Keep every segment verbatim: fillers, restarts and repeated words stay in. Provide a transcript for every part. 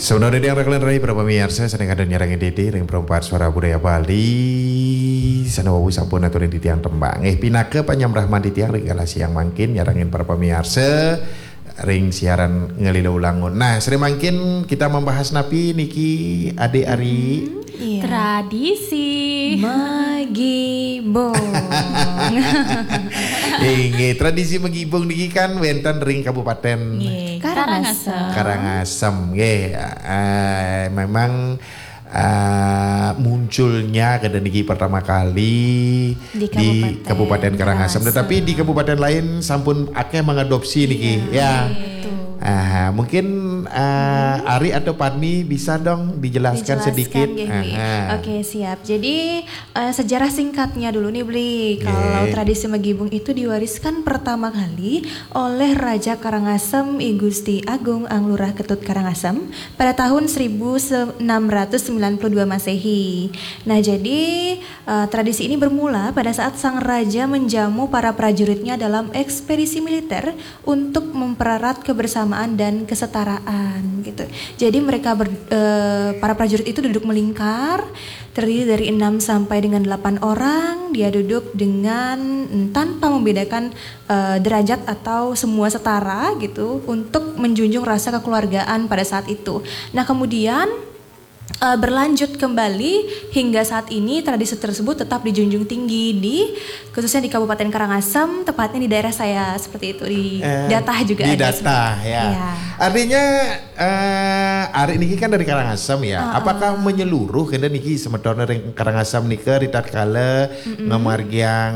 Sampun dadi ring kalian rai para pamiarsa, sané kadang nyarengin titi ring Perempat Suara Budaya Bali, sané wau sampun aturin titiang tembang. Eh, pinaka panyambrah titiang ring kala siang mangkin nyarengin para pamiarsa ring siaran Ngalila Ulangun. Nah, sané mangkin kita membahas napi niki, Adik Ari? Hmm, iya. Tradisi. Magibung. Inggih, tradisi magibung niki kan wénten ring Kabupaten Nggih, Karangasem. Karangasem. Karangasem, nggih. Eh, memang, eh, munculnya kada niki pertama kali di Kabupaten Karangasem. Kabupaten Karangasem. Tetapi di kabupaten lain sampun akeh mengadopsi niki, iya, ya. Betul. Ah, mungkin, eh, Ari atau Padmi bisa dong dijelaskan sedikit. Dijelaskan, nggih, nggih. Aha. Oke, siap. Jadi, eh, sejarah singkatnya dulu nih, Bli. Kalau tradisi magibung itu diwariskan pertama kali oleh Raja Karangasem I Gusti Agung Ang Lurah Ketut Karangasem pada tahun seribu enam ratus sembilan puluh dua Masehi. Nah, jadi, eh, tradisi ini bermula pada saat sang raja menjamu para prajuritnya dalam ekspedisi militer untuk mempererat kebersamaan dan kesetaraan gitu. Jadi mereka ber-, eh, para prajurit itu duduk melingkar, terdiri dari enam sampai dengan delapan orang. Dia duduk dengan, mm, tanpa membedakan, eh, derajat atau semua setara gitu, untuk menjunjung rasa kekeluargaan pada saat itu. Nah, kemudian, eh, berlanjut kembali hingga saat ini tradisi tersebut tetap dijunjung tinggi di, khususnya di Kabupaten Karangasem, tepatnya di daerah saya seperti itu, di, eh, Datah juga di ada Datah, sebenarnya. Ya. Iya. Artinya, eh, Ari niki kan dari Karangasem ya. Heeh. Apakah menyeluruh kena niki semeton ring Karangasem nika ritatkala ngamargiang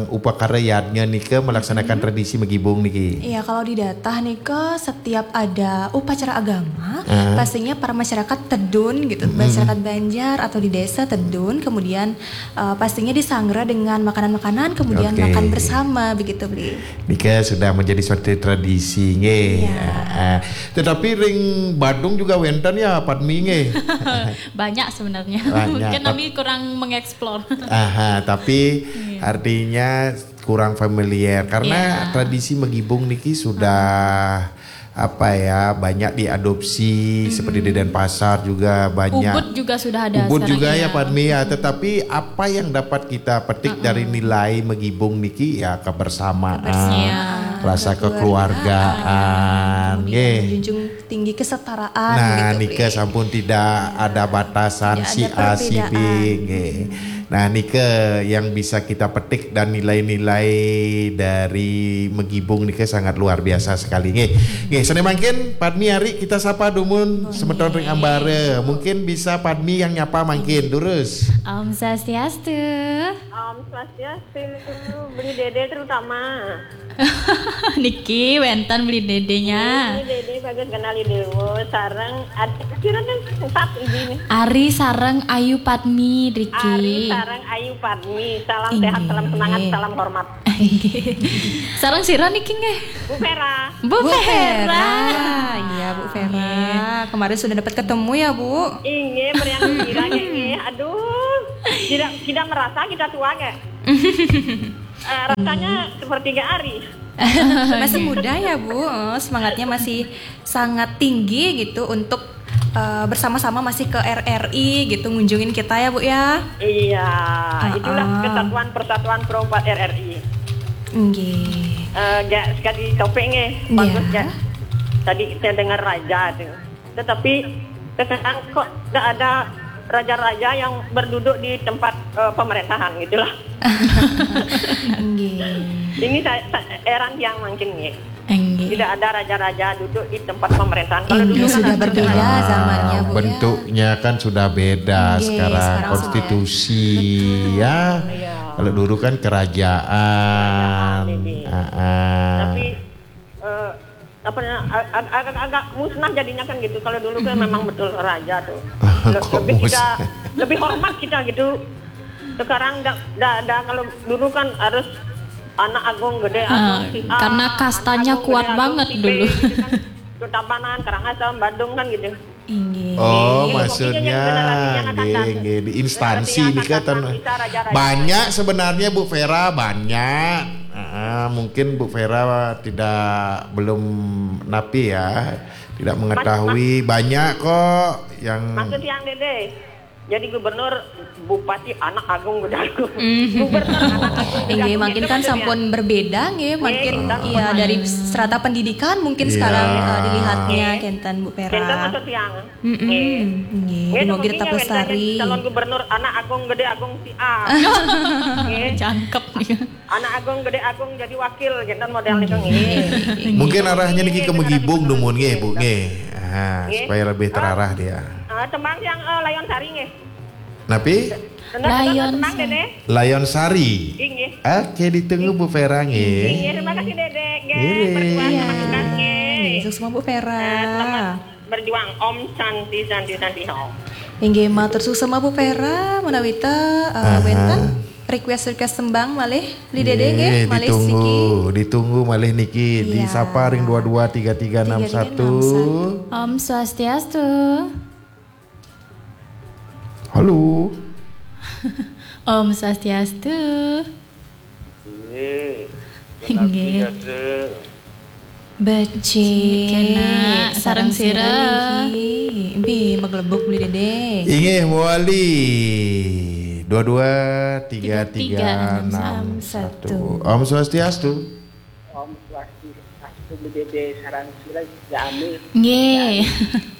upakara yadnya nika melaksanakan tradisi magibung niki? Iya, kalau di Datah nika setiap ada upacara agama, pastinya para masyarakat tedun gitu, masyarakat Banjar atau di desa tedun, kemudian, eh, pastinya disanggra dengan makanan-makanan, kemudian makan bersama begitu, Bli. Nika sudah menjadi suatu tradisi, nggih. Iya. Heeh. Tetapi ring Badung juga wénten ya, Padmi, nggih. Banyak sebenarnya. Banyak. Mungkin kami kurang mengeksplor. Aha, tapi artinya kurang familiar karena tradisi magibung niki sudah, apa ya, banyak diadopsi seperti di Denpasar juga banyak. Ubud juga sudah ada. Ubud sekarang juga ya, Padmi, ya. Tetapi apa yang dapat kita petik dari nilai magibung niki ya kebersamaan, kebersamaan, rasa kekeluargaan, kekeluargaan, kemudian nggih, menjunjung tinggi kesetaraan. Nah, gitu, nika Bli. Sampun tidak ada batasan. Tidak ada si A, si B, perbedaan. Nggih. Nah, nika yang bisa kita petik dan nilai-nilai dari magibung nika sangat luar biasa sekali, nggih. Nggih, sané mangkin Padmi, Ari, kita sapa dumun semeton ring ambara. Mungkin bisa Padmi yang nyapa mangkin, durus. Om Swastiastu. Om Swastiastu, Bli Dede terutama. Niki wénten Bli Dedenya. Bli Dede Bagus Kenali Dewa sareng ad-, kira kan empat ini nih. Ari sareng Ayu Padmi, Riki. Ari sareng Ayu Padmi. Salam sehat, salam semangat, salam hormat. Sareng sira niki nggih? Bu Vera. Bu Vera. Iya, Bu Vera. Kemarin sudah dapat ketemu ya, Bu? Inggih, meriang gembira nggih. Aduh, tidak, tidak merasa kita tua nggih. Eh, rasanya sepertiga hari. Masih muda ya, Bu. Eh, semangatnya masih sangat tinggi gitu untuk, eh, bersama-sama masih ke R R I gitu, ngunjungin kita ya, Bu, ya. Iya, itulah kesatuan persatuan perempat R R I. Nggih. Eh, gak sekali topik nggih, bagus gak? Tadi saya dengar raja tuh. Tetapi sekarang kok gak ada raja-raja yang berduduk di tempat, eh, pemerintahan gitulah. Nggih. Ini saya, saya heran yang mungkin nggih. Nggih. Tidak ada raja-raja duduk di tempat pemerintahan. Kalau dulu kan sudah ada berbeda zamannya, Bu, ya. Bentuknya kan sudah beda sekarang, konstitusi, ya. Iya. Kalau dulu kan kerajaan. Kerajaan, ini. Tapi, eh, apa namanya, ag-, ag-, agak, agak musnah jadinya kan gitu. Kalau dulu kan memang betul raja tuh. Le-, lebih kita, lebih hormat kita gitu. Sekarang ndak, ndak, ndak, kalau dulu kan harus anak agung gede, agung si A, karena kastanya agung kuat gede, agung banget si B dulu. Gitu kan. Tabanan, Karangasem, Badung kan gitu. Inggih. Oh, maksudnya, nggih, nggih, di instansi nika ten-, banyak sebenarnya, Bu Vera, banyak. Ah, mungkin Bu Vera tidak, belum napi ya. Tidak mengetahui, banyak kok yang... Maksud yang Dede, jadi gubernur, bupati, anak agung gedé agung. Gubernur, anak agung gedé agung. Inggih, mangkin kan sampun berbeda nggih, mangkin iya, dari strata pendidikan mungkin sekarang, eh, dilihatnya, kénten Bu Vera. Kénten maksud yang. Mm-mm. Nggih, nggih, dumogi tetep lestari. Calon gubernur, anak agung gedé agung si A. Nggih. Jangkep nih. Anak agung gedé agung jadi wakil, kénten model niku nggih. Mungkin arahnya niki ke Megibung dumun nggih, Bu, nggih. Ah, supaya lebih terarah dia. Ah, tembang yang, eh, Layon Sari nggih. Napi? Layon Sari. Layon Sari. Nggih. Oke, ditunggu Bu Vera nggih. Nggih, terima kasih Dede. Nggih, berjuang sama tugas nggih. Sukses Bu Vera. Selamat berjuang. Om Santi, Santi, Santi, Om. Inggih, matur suksma Bu Vera, menawi ta, eh, wénten request-request tembang malih, Beli Dede nggih, malih ditunggu, siki. Ditunggu malih niki, disapa ring dua dua tiga tiga enam satu. Om Swastiastu. Halo. Om Swastiastu. Inggih. Becik, kénak, sareng sira. Inggih, maglebuk Beli Dede. Inggih, mawali. Dua dua tiga tiga enam satu. Om Swastiastu. Om Swastiastu, Beli Dede, sareng sira, Jami. Nggih.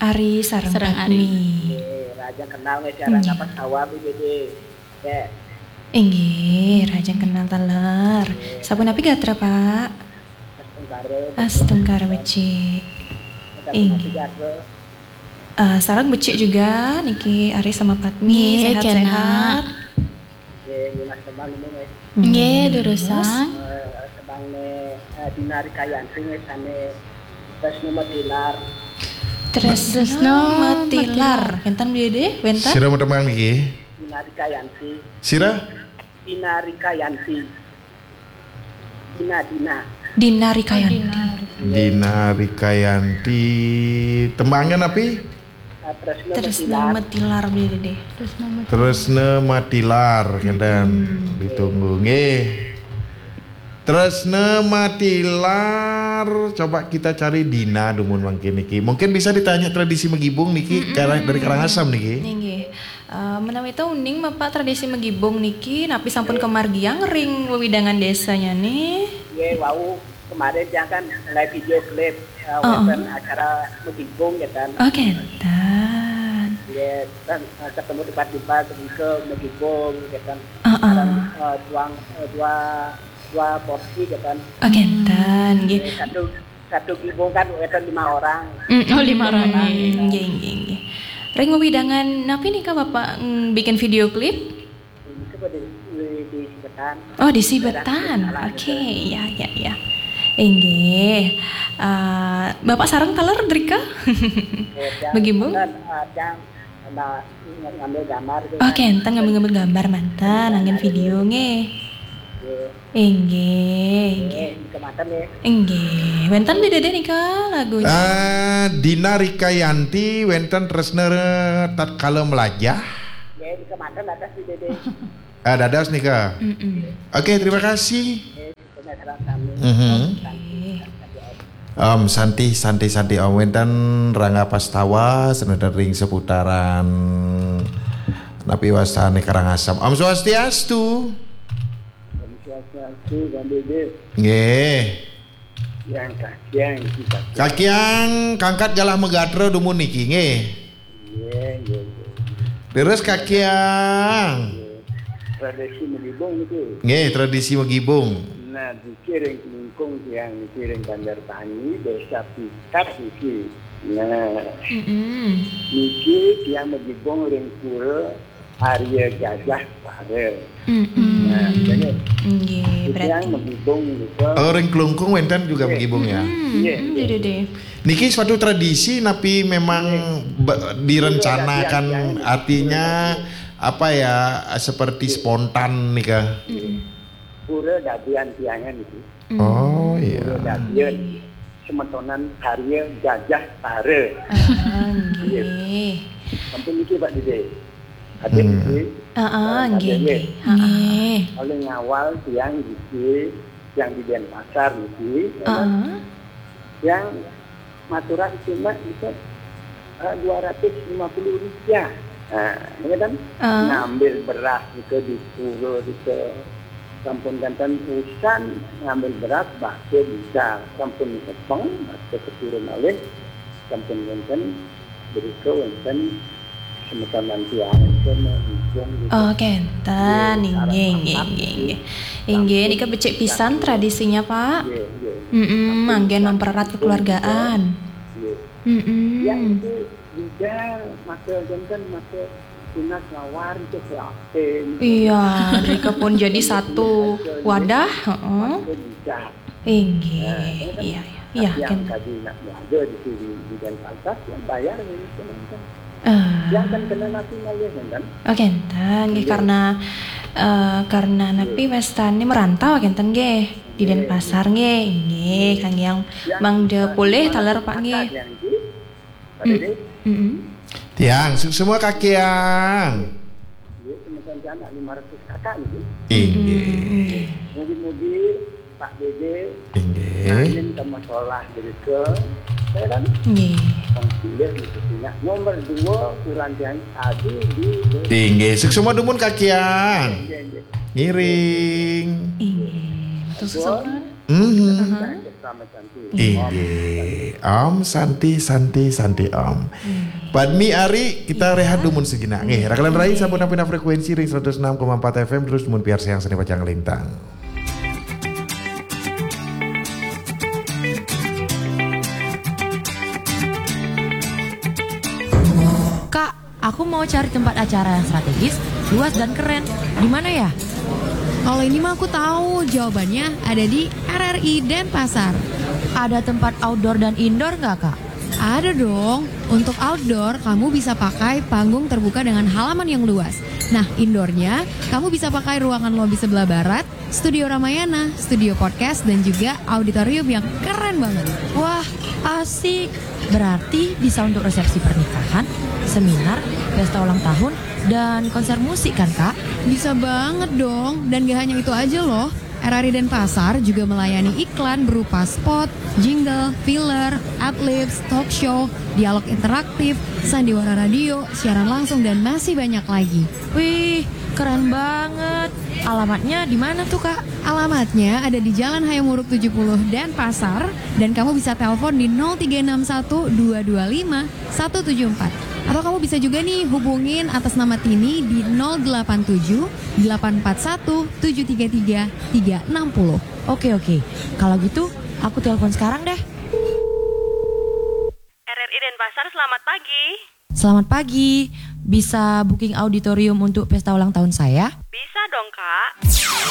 Ari sareng Padmi. Nggih, Raja Kenal nggih, sareng apa sawah Beli Dede. Inggih, rahajeng kenal taler. Sapunapi gatra, Pak? Astungkara. Astungkara becik. Inggih. Eh, sareng becik juga niki Ari sama Padmi, sehat-sehat. Nggih, durusang. Eh, tembangné, eh, Dina Rikayanti nggih sané Tresna Matilar. Tresna Matilar. Wénten, Beli Dede? Wénten? Sira tembang niki? Dina Rikayanti. Sira? Dina Rikayanti. Dina, Dina. Dina Rikayanti. Dina Rikayanti. Tembangnya napi? Eh, Tresna Matilar. Tresna Matilar, Beli Dede. Tresna Matilar, kénten. Ditunggu nggih. Tresna Matilar, coba kita cari Dina dumun mangkin niki. Mungkin bisa ditanya tradisi Megibung niki, dari Karangasem niki. Inggih. Eh, menawi ta uning Bapak tradisi Megibung niki, napi sampun kamargiang ring wewidangan désanyané? Nggih, wau kemarin tiang kan live video klip, eh, wénten acara Megibung ya kan. Oh, kénten. Nggih, kan, eh, ketemu tiba-tiba kemudian Megibung ya kan. Sekarang, eh, tuang, eh, dua, dua porsi ya kan. Oh, kénten, nggih. Nggih, satu satu gibung kan wénten lima orang. Mm, oh, lima orang. Nggih, nggih, nggih. Ring wewidangan napi nika Bapak, mm, bikin video klip? Ini coba di, di, di Sibetan. Oh, di Sibetan. Oke, ya, ya, ya. Inggih. Eh, Bapak sareng taler drika? Begibung? Kan, eh, yang Nah, ng-, ngambil gambar gitu. Oke, kan. Enten ngambil-ngambil gambar manten, anggén video nggih. Nggih. Inggih, nggih. Nggih, kematen nggih. Inggih. Wénten Beli Dede nika lagunya? Eh, Dina Rikayanti, wénten Tresna Tatkala Melajah. Nggih, kematen atas Beli Dede. Ah, dados nika. Mm-mm. Oke, terima kasih. Nggih. Mhm. Om Santi, Santi, Santi, Om. Wénten Rangga Pastawa, senajan ring seputaran napi wastané Karangasem. Om Swastiastu. Om Swastiastu, Bang Dede. Nggih. Yang kakiang, kita. Kakiang, kangkat galah magatra dumun niki, nggih. Nggih, nggih, nggih. Terus kakiang. Nggih. Tradisi Megibung niku. Nggih, tradisi Megibung. Nah, niki ring Klungkung tiang niki ring Banjartani, Désa Pikat niki. Nah. Mm-mm. Niki tiang Megibung ring pura Arya Gajah Para. Mm-mm. Nah, nggih. Nggih, berarti tiang Megibung niku. Oh, ring Klungkung wénten juga Megibung ya? Mm-mm. Nggih, nggih. Niki suatu tradisi napi memang be-, direncanakan, artinya apa ya, seperti spontan nika? Pura dadian tiangan itu. Oh, iya. Pura dadian semetonan karya Gajah Tara. Ah, nggih. Sampun niki, Pak Dede. Adik niki. Heeh, nggih, nggih. Heeh. Paling awal tiang niki, tiang di Denpasar niki, heeh, yang maturan cuma itu eh, dua ratus lima puluh rupiah. Nah, ini kan Ah. ngambil beras itu di pura itu sampun janten usan ngambil beras bakso bisa sampun kepeng bakso keturun oleh sampun janten beriko wonten semeton lantian itu menghitung gitu. Oh, kenten. Inggih, inggih, inggih, inggih. Inggih, nika becik pisan tradisinya, Pak. Nggih, nggih. Mm-mm, manggen mempererat kekeluargaan. Nggih. Mm-mm. Ya itu juga maka janten maka tunas lawar itu prihatin. Iya, mereka pun jadi satu wadah, heeh. Itu bisa. Inggih, iya, iya, iya, Yang kan. Tadi nak belajar di sini di Denpasar yang bayar ini teman-teman. Ah, Yang kan kena nanti malah kan. oh, kenten, nggih, karena eh, karena napi wastane merantau kenten nggih di Denpasar nggih, nggih, kang yang mangda polih taler Pak nggih. Yang itu, Pak Dede, Mm-mm. Tiang, suksma Kak Kiang. ya, teman-teman anak lima ratus kakak itu. Inggih. Mugi-mugi Pak Dede Inggih. Amin sama sholah berike. Saya kan Nggih. Pilih itu punya nomor dua kurang yang tadi di Inggih, suksma dumun Kak Kiang. Janji. Ngiring. Inggih. Matur suwun. Mhm. Sama cantik. Inggih. Om Santi, Santi, Santi Om. Padmi Ari, kita rehat dumun sejenak. Nggih, rakalan rai sampun nampina frekuensi ring seratus enam koma empat F M terus dumun piarsayang seni pacang lintang. Kak, aku mau cari tempat acara yang strategis, luas dan keren. Di mana ya? Kalau ini mah aku tahu, jawabannya ada di R R I Denpasar. Ada tempat outdoor dan indoor nggak, Kak? Ada dong. Untuk outdoor, kamu bisa pakai panggung terbuka dengan halaman yang luas. Nah, indoornya, kamu bisa pakai ruangan lobi sebelah barat, studio Ramayana, studio podcast, dan juga auditorium yang keren banget. Wah, asik. Berarti bisa untuk resepsi pernikahan, seminar, pesta ulang tahun, dan konser musik kan, Kak? Bisa banget dong. Dan gak hanya itu aja loh. R R I Denpasar juga melayani iklan berupa spot, jingle, filler, adlibs, talk show, dialog interaktif, sandiwara radio, siaran langsung, dan masih banyak lagi. Wih, keren banget. Alamatnya di mana tuh, Kak? Alamatnya ada di Jalan Hayam Wuruk tujuh puluh Denpasar, dan kamu bisa telepon di nol tiga enam satu dua dua lima satu tujuh empat. Atau kamu bisa juga nih hubungin atas nama Tini di nol delapan tujuh delapan empat satu tujuh tiga tiga tiga enam nol. Oke, oke. Kalau gitu, aku telepon sekarang deh. R R I Denpasar, selamat pagi. Selamat pagi. Bisa booking auditorium untuk pesta ulang tahun saya? Bisa dong, Kak.